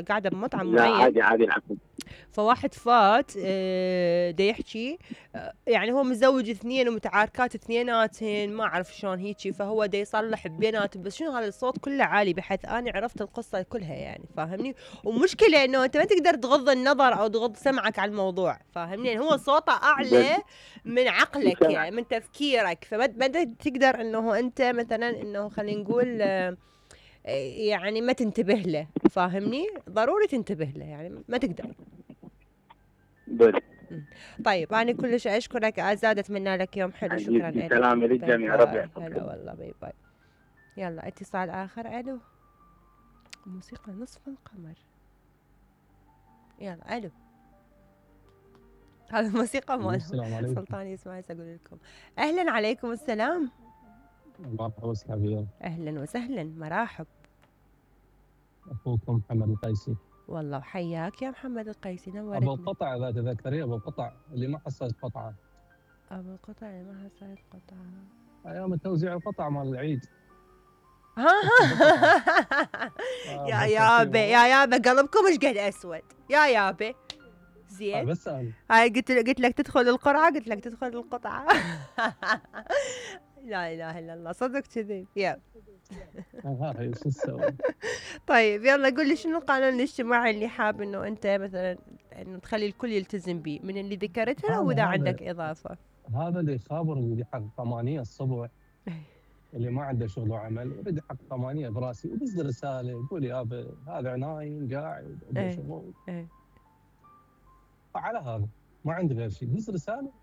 قاعدة بمطعم لا معين، عادي العفو. فواحد فات دا يحكي يعني هو متزوج 2 ومتعاركات 2 ما اعرف شلون هيجي، فهو دا يصلح بيناتهم، بس شنو هذا الصوت كله عالي بحيث اني عرفت القصة كلها يعني، فاهمني؟ ومشكلة انه انت ما تقدر تغض النظر او تغض سمعك على الموضوع، فاهمني؟ يعني هو صوته اعلى من عقلك يعني من تفكيرك، فما تقدر انه انت مثلا انه خلينا نقول يعني ما تنتبه له، فاهمني؟ ضروري تنتبه له يعني ما تقدر. بس طيب أنا كلش أشكرك آزاد، أتمنى لك يوم حلو. شكرا لك. سلام للجميع، ربي يحفظك. هلا والله، باي باي. يلا اتصال آخر. ألو، موسيقى نصف القمر. يلا ألو، هذا الموسيقى مال سلطان يسمع أقول لكم. أهلا عليكم السلام. مرحبا وسهلا. أهلا وسهلا، مرحب. أخوكم محمد القيسي. والله وحياك يا محمد القيسي، نورتني. أبو القطع إذا تذكري، أبو القطع اللي ما حصلت قطعة. أبو القطع اللي ما حصلت قطعة أيام توزيع القطع مال العيد. يا يابا يا يابا قلبكم ايش قد اسود يا يابا. زين بس أنا هاي قلت لك تدخل القرعة، قلت لك تدخل القطعة. لا اله الا الله، صدق كذي. يلا هاي شو نسوي؟ طيب يلا قول لي شنو القانون الاجتماعي اللي حاب انه انت مثلا انه تخلي الكل يلتزم به من اللي ذكرتها، او اذا عندك اضافة؟ هذا اللي يخابر اللي يحقق 8 الصبح، اللي ما عنده شغل وعمل يريد يحقق 8 براسي وبس رسالة يقول يابا هذا نايم قاعد عنده شغل. على هذا ما عندي غير شيء، بس رسالة.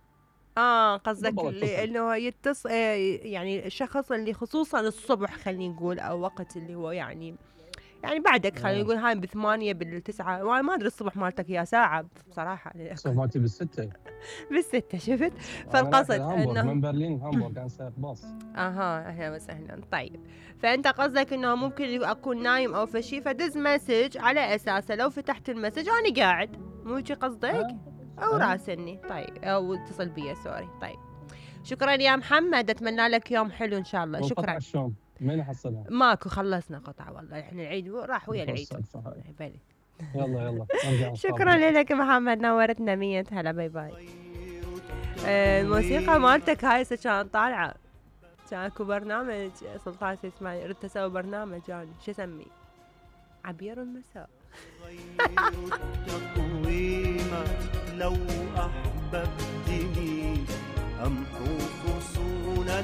قصدك اللي انه يتصل يعني الشخص اللي خصوصا الصبح خلينا نقول، او وقت اللي هو يعني بعدك خلينا نقول هاي ب8 بال9، ما ادري الصبح مالتك يا ساعة بصراحة. الصبح مالتي بال6. بال6 شفت؟ فالقصد انه من برلين هامبورغ كان سائق باص. اهلا وسهلا. طيب فانت قصدك انه ممكن اكون نايم او فشي فدز مسج على اساسه لو فتحت المسج انا قاعد، مو هيك قصدك؟ او راسلني طيب، او اتصل بي سوري. طيب شكرا يا محمد، اتمنى لك يوم حلو ان شاء الله. شكرا. شلون مين حصلها؟ ماكو، خلصنا قطعه والله، احنا العيد راح ويا العيد. بلي يلا شكرا لك محمد، نورتنا 100 هلا. باي باي. الموسيقى مالتك هاي كانت طالعه، كان اكو برنامج سلطان اسماعيل ردت اسوي برنامج يعني شو اسميه؟ عبير المساء. لو أحببتني أمحو فصولا